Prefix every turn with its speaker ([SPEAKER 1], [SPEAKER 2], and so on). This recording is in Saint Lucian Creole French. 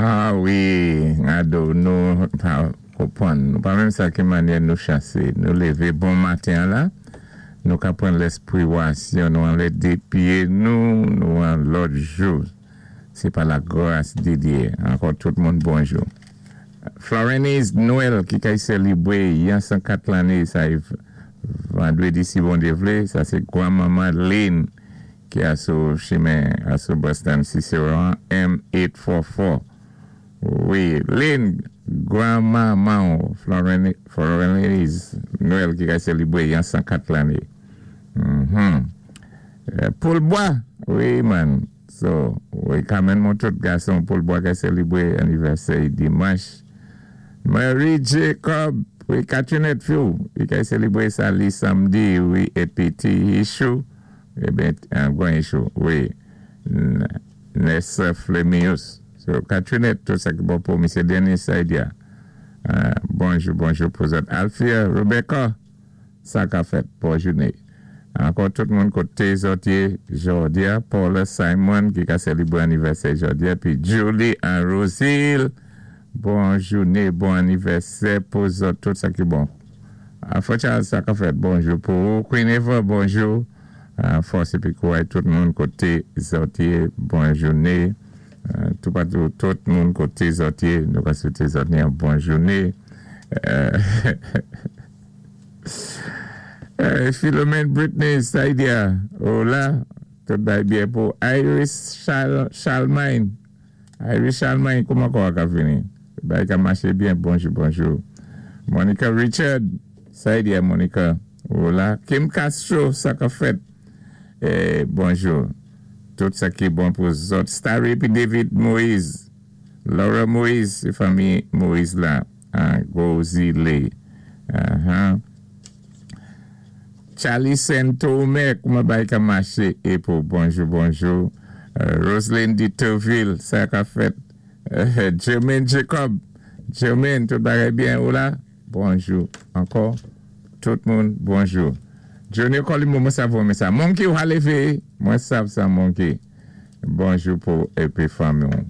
[SPEAKER 1] Ah wi, gado nou pa konpwann, nou pa menm sa ki mannyè nou chansé. Nou lévé bon maten an la, nou ka pran lèspwiwasyon, nou anlè dé pyé nou, nou an lòt jou. Sé pa la gras di Dyé. Ankò tout moun bonjou. Florenise Noël ki kay sélibwé yan 104 lanné sa é vandwédi si Bondyé vlé, sa sé gwan manman Lynn ki asou chimen asou Boston Cicero an M 844 wi Lynn gran manman w Florenise Noël ki kay selibre yon 104 lane humm Poul bwa wi man so wi Carmen Montout gason poul bwa kay selibre anivèsè y dimanch Marie Jacob wi Katrinette fi w li kay selibre sa li samdi wi epi ti Hichou Eben gwan issue wi Nurse Flemius so Katrinette tout sa ki bon pou Misye Denis Saidia bonjou bonjou pou zòt Althea Rebecca sa ka fèt bon joune ankò tout moun kote zòt ye jòdia Paula Simon ki ka selibre anivèsè jòdia pi Julie and Rosile Bon joune bon anivèsè pou zòt tout sa ki bon Afro Charles sa kap fèt bonjou pou ou Queen Eva bonjou fòs epi kouray tout moun kote zòt ye bon joune toupatou tout moun kote zòt ye nou ka swete zòt yon bon joune Philomène Britney Saidia ou la tout bagay byen pou Iris Charlemagne. Iris Chalmany kouman kò a ka fini? Bagay ka maché byen bonjou bonjou Monica Richard sa ye a Monica ou la Kim Castro sa kap fèt bonjou tout sa ki bon pou zòt Starry epi David Moise Laura Moise se fanmi Moise la an gwo zile ahan. Charly Saint-Omer kouman bagay ka mache epo bonjou bonjou Roseline Ditouville sa kap fèt Germaine Jacob Germaine tout bagay byen ou la bonjou ankò tout moun bonjou Junior Colimo mwen sav ou renmen sa Monkey ou ha leve mwen sav sa Monkey bonjou pou epi fanmi w.